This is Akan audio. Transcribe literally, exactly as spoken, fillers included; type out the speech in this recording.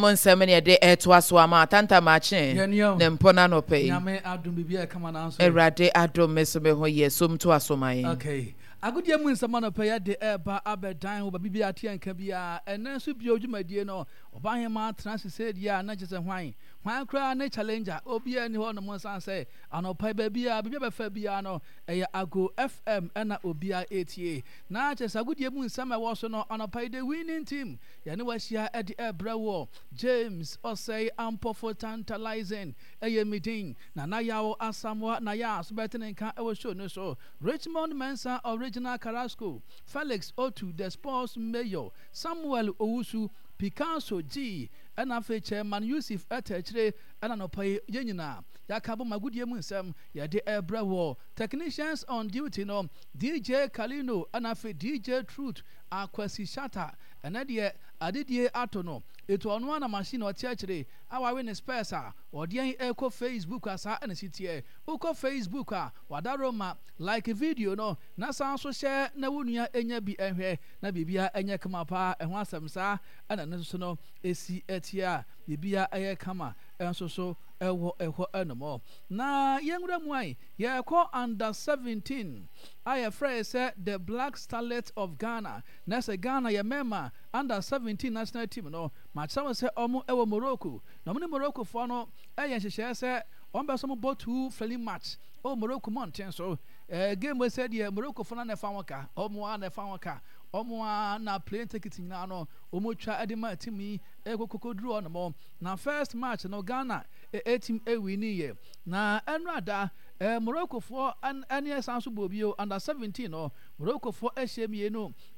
Mo nsɛm ne yɛde ɛtoa so ama atantamakye ne mpɔ no anɔpɛ yi. Nyame adom, biribi a ɛkama nanso. Awurade adom, me so me ho yɛ som to aso ma yɛn. Okay, agodie mu nsɛm anɔpɛ yɛde ɛreba abɛdan wo baabi bi ate nka biara. Ɛnɛ nso bio, dwumadie no ɔbahema tena sese deɛ a na kyerɛ sɛ hwan hwan koraa ne challenger obiara ni hɔ nom, nsan sɛ anɔpa baabi a biribi a bɛfa biara no ɛyɛ Ago F M ɛna obiara ɛtie. Na kyerɛ sɛ agodie mu nsɛm a ɛwɔ so no anɔpa yi, the winning team yɛne wahyia ɛde ɛbrɛ wɔ James Ɔsɛe Ampɔfo Tantalizing ɛyɛ mi din Nana Yaw Asamoah na yɛ a so bɛte ne nka ɛwɔ show no so. Richmond Mensa, Original Carrasco, Felix Otu, the sports mayor, Samuel Owusu, Picasso G, ɛna afei Chairman Yusuf ɛtɛ akyire. Ɛna nɔpa yi yɛn nyinaa yɛaka bɔ magodie mu nsɛm yɛde ɛbrɛ wɔ. Technicians on duty no, D J Kalino ɛna afei D J Truth Akwasi Shata. Ɛnɛ deɛ adedie ato no etu ɔno ana machine ɔte akyire a wawe ne spares a ɔde yɛn ɛkɔ Facebook a saa ɛna si teɛ. Wokɔ Facebook a, wadaro ma like video no na san so hyɛ na wo nua enya bi ɛhwɛ na biribia ɛnyɛ kama paa. Ɛho asɛm saa ɛna ne nso no esi ɛteɛ a biribia ɛyɛ kama ɛnso so ɛwɔ ɛhɔ ɛnom. Na yɛnwura mu ayi, yɛkɔ under seventeen a yɛfrɛ sɛ the Black Starlet of Ghana, na sɛ Ghana yɛ mmarima under seventeen national team no, makyerɛ wɔn sɛ ɔmo ɛwɔ Morocco na ɔmo ne Morocco foɔ no ɛyɛ nhyehyɛeɛ sɛ ɔmo bɛ so mo bɔ two friendly match ɛwɔ Morocco mmɔnten so. ɛɛ game wɔ sɛ deɛ Morocco foɔ no na ɛfa wɔn ka, ɔmo a na ɛfa wɔn ka, ɔmo a na plane ticket nyinaa no ɔmo twa ɛde ma team yi ɛkɔ kokoduru hɔ. Na first match no, Ghana ɛ team ɛwin yɛ. Na ɛno ada ɛɛ Morocco foɔ ɛne ɛsan so bɔ bio under seventeen no, Morocco foɔ ɛhyɛ mmienu.